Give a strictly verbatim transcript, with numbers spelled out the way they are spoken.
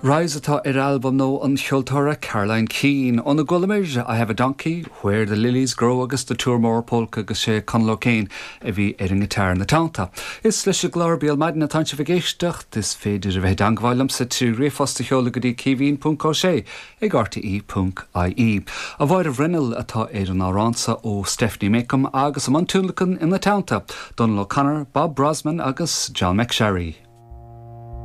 Rise atá ar albam nua an cheoltóra Caroline Keane. Óna gcualamar I have a donkey, Where the Lilies Grow agus the Toormore Polka agus sé Conal O'Kane a bhí ar an ngiotár ina teannta. Is leis an gclár Béal Maidine atá sibh ag éisteacht is féidir a bheith i dteagmháil liomsa trí ríomhphost a sheoladh go dtí caoimhín ponc ó sé ag R T E ponc I E. A Mháire Bhruinneall atá ar an amhrán seo ó Stephanie Makeham agus i mbun tionlacan ina teannta, Donal O'Connor, Bob Brozman agus John McSherry.